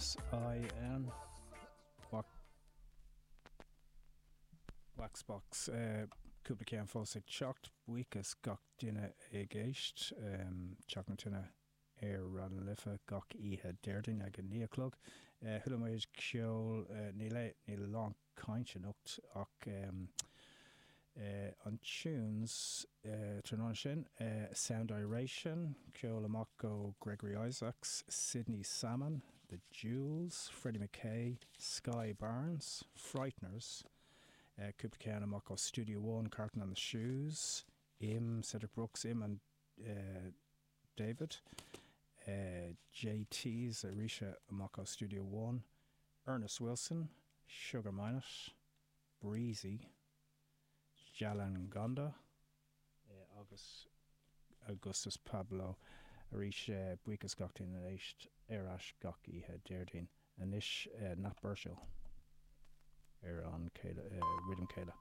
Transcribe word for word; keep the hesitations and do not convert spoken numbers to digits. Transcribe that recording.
S I N Waxbox, cúpla ceann fós ag teacht. Buíochas gach duine ag éist. Teach na Tine ar Raidió na Life gach oíche Déardaoin ag a naoi a chlog. Chuala ceol, níl níl lán cainte anocht ach um, uh, an tunes uh, tráthnóna sin, uh, Sound Iration, ceol amach ó Gregory Isaacs, Sidney Salmon, The Jewels, Freddie McKay, Sky Barnes, Frighteners, uh, cúpla ceann amach ó Studio One, Carlton and the Shoes, Im, Cedric Brooks, Im and uh, David, uh, J Ts arís amach ó Studio One, Ernest Wilson, Sugar Minott, Breezy, Jalan Gonda uh, agus Augustus Pablo arís. uh, buíochas gach duine ag éist ar ais gach oíche Déardaoin. Anois uh, Nat Birchall ar an céile, uh, rhythm céile.